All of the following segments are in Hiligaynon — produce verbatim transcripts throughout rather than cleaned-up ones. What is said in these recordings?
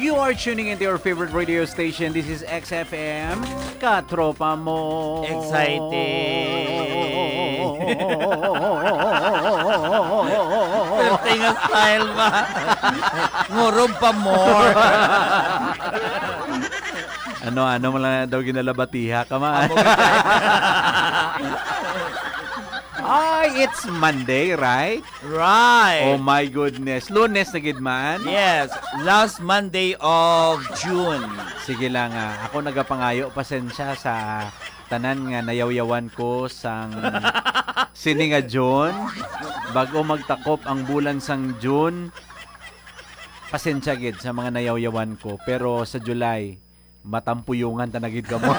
You are tuning into your favorite radio station. This is X F M, Katropa Mo. Exciting. Perting style ba? Ngurob pa more. Ano, ano mo lang daw ginalabatiha ka man? Amo ka. Ay, it's Monday, right? Right. Oh my goodness. Lunes na gid man. Yes, last Monday of June. Sige lang, ah. Ako nagapangayo pasensya sa tanan nga nayawyawan ko sang sini nga June. Bago magtakop ang bulan sang June, pasensya gid sa mga nayawyawan ko. Pero sa July, matampuyungan ta na gid kamo.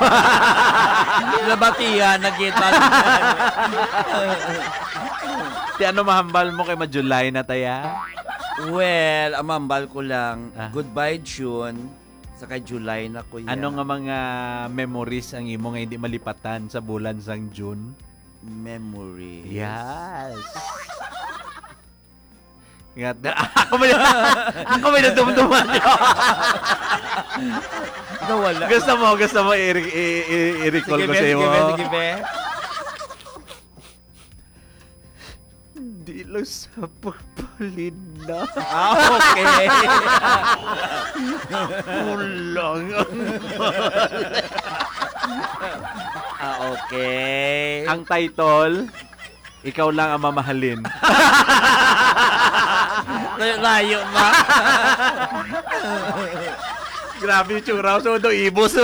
Nabatihan na gid. Ti ano mahambal mo kay ma-July na taya? Well, ang mahambal ko lang, ah, goodbye June, sa kay July na ko ya. Ano nga mga memories ang imo nga hindi malipatan sa bulan sang June? Memories? Yes. Nga, ako may, ako may nadumduman. Nawala. Gusto mo, gusto mo i-, i-, i-, i-recall Sige, ko be, sa sige, imo? Be, sige, be. Di lang sa pagpalina. Ah, okay. Kulang ang Ah, okay. Ang title, Ikaw lang ang mamahalin. Layo-layo ba? Grabe yung tsura. So, do ibos.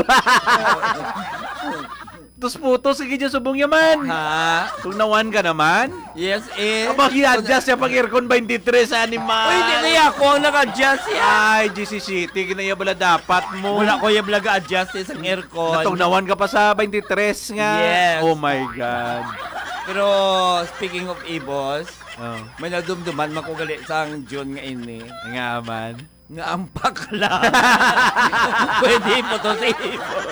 Tus puto, sige dyan, subong yaman. Ha? Tugnawan ka naman. Yes, eh. Abang, i-adjust siya pag aircon twenty-three sa animal. Uy, hindi na ako ang nag-adjust yan. Ay, G C City, ginaya bala dapat mo. Wala ko yung vlog adjust eh, sa aircon. Natugnawan ka pa sa twenty-three nga. Yes. Oh my God. Pero speaking of ibos, Oh. May nadumduman man ko gali sang June nga ini. Nga man. Nga ang pakla. Pwede po to sa ibos.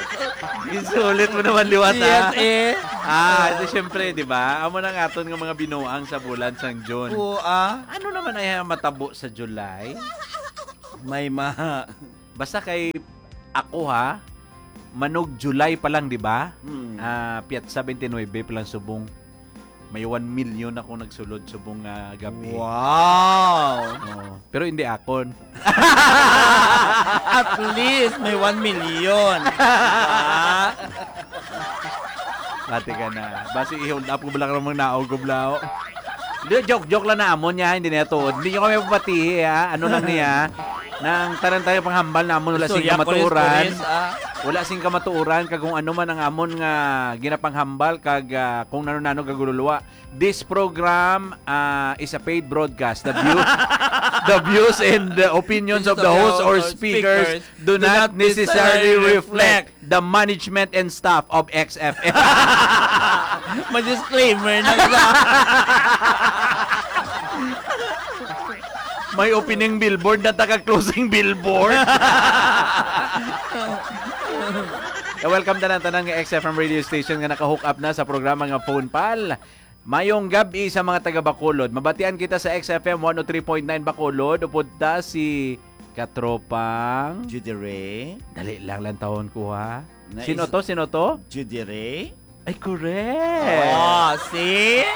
Isulit mo naman liwat, Yes, ah. eh. Ah, ito syempre, di ba? Amo na nga aton nga mga binuang sa bulan sang June. Oo, ah. Ano naman ay matabo sa July? May ma- Basta kay ako, ha, manog July pa lang, di ba? Mm. Ah, Piatsa twenty-nine pa lang subong. May one million ako nagsulod subong nga gabi. Wow! Oo. Pero hindi akon. At least may one million. Diba? Pati ka na. Basi i-hold up ko bala ka namang naog ko, blao. Di, joke, joke lang na amon niya, hindi niya tuod. Hindi niyo kami papatihi, ha? Ano lang niya? Nang tanan tayo panghambal namon, wala sing Istorya, kamatuoran. Kuris, kuris, ah. Wala sing kamatuoran, kag kung ano man ang amon nga ginapanghambal, kag, ah, kung nano-nano gagululuwa. This program, ah, is a paid broadcast. The view-, the views and the opinions of the host or speakers do not necessarily reflect the management and staff of X F M. May disclaimer na sa May opening billboard na taga closing billboard. Eh, welcome tanan, tanan nga X F M radio station nga naka-hook up na sa programa nga Phone Pal. Mayong gab-i sa mga taga Bacolod. Mabatian kita sa X F M one oh three point nine Bacolod. Upod ta si Katropang Judy Ray. Dali lang, lantawon ko, ha. Na Sino is to? Sino to? Judy Ray? Ay, correct. Oh, see?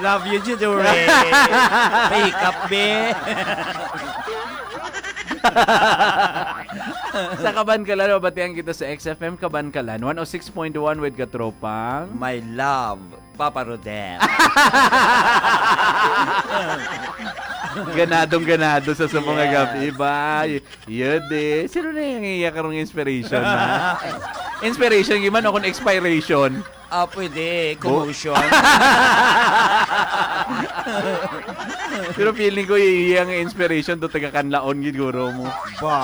Love you, Judy Ray. May hikap, be. Sa Kabankalan, mabatian kita sa X F M Kabankalan, one oh six point one with Katropang. My love. Papa Rodel. Ganadong ganado sa, sa mga Yes. gabi ba? Y-, yun eh. Sino na yung iya karong inspiration, ha? Inspiration, yun man, o kung expiration. Ah, pwede. Bu- Commotion. Pero feeling ko, iya nga inspiration to taga Kanlaon gid guro mo. Ba?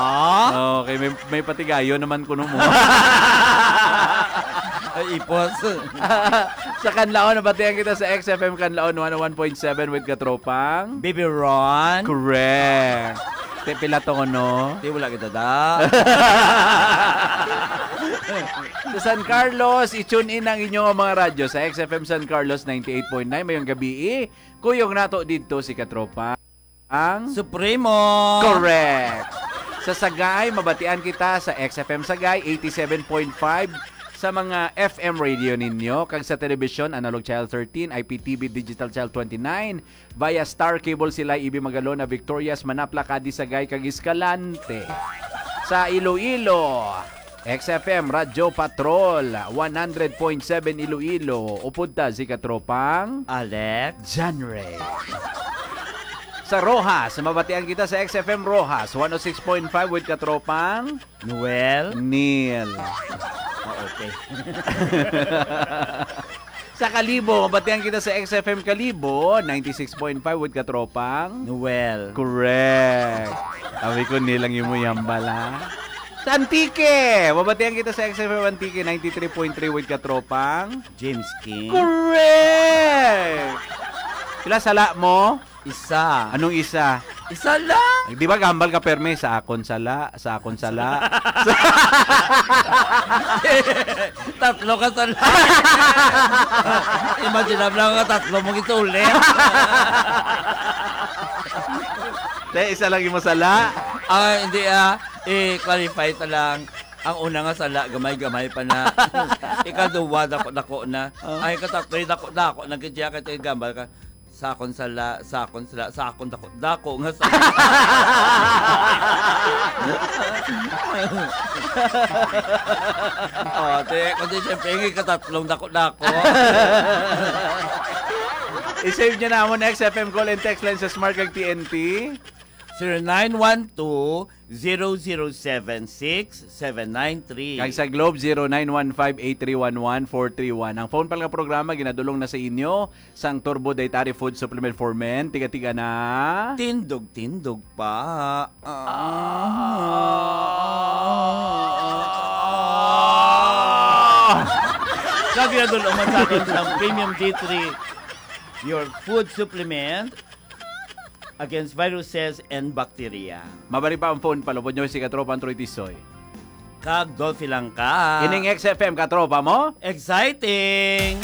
Okay, may, may patigayon naman kuno mo. Ay, ipos. Sa Kanlaon, nabatian kita sa X F M Kanlaon one oh one point seven with Katropang. Baby Ron. Correct. Te, pila to, no? Di, wala kita da. Sa San Carlos, i-tune in ang inyong mga radyo sa X F M San Carlos ninety-eight point nine. Mayong gabi, eh. Kuyog nato dito si Katropa. Ang Supremo. Correct. Sa Sagay, mabatian kita sa X F M Sagay, eighty-seven point five sa mga F M radio ninyo, kag sa telebisyon, Analog Channel thirteen, I P T V Digital Channel twenty-nine, via Star Cable, Silay, Ibi, Magalona, Victorias, Manapla, Cadiz, Sagay, kag Escalante. Sa Iloilo, X F M Radyo Patrol, one hundred point seven Iloilo, upod ta si Katropang Alex. Genre. Sa Roxas, mabatian kita sa X F M Roxas, one oh six point five with Katropang Noel. Neil. Oh, okay. Sa Kalibo, mabatian kita sa X F M Kalibo, ninety-six point five with Katropang Noel. Correct. Sabi ko, Neil ang imo ihambal, ha? Sa Antique, mabatian kita sa X F M Antique, ninety-three point three with Katropang James King. Correct! Pila sala mo? Isa. Anong isa? Isa lang. Di ba gambal ka, perme? Sa akon sala, sa akon sala. Tatlo ka sala. Imagine lang nga tatlo mo gisulit. Te, isa lang imo sala. Ah, hindi, ah. I-clarify ta lang. Ang una nga sala, gamay-gamay pa na. Ikaduwa, dako-dako na. Ah. Ay, katatlo, dako-dako na gid siya, kay gambal ka. Sa akon sala, sa akon sala, sa akon dako-dako nga sala. Oh, te, kundi siyempre, yung ikatatlong dako-dako. I-save niyo na amon X F M call and text line sa Smart kag T N T. Zero nine one two, zero zero seven six seven nine three. Kag sa Globe, zero nine one five, eight three one one, four three one. Ang phone pala nga programa ginadulong na sa inyo sang Turbo Dietary Food Supplement for Men. Tiga-tiga na. Tindog-tindog pa. Ah. Kag ginadulong man sa aton sang Premium D three, your food supplement against viruses and bacteria. Mabalik pa ang phone, palupod nyo si Katropang Troy Tisoy. Kag Dolphy lang ka. Ining X F M, katropa mo? Exciting!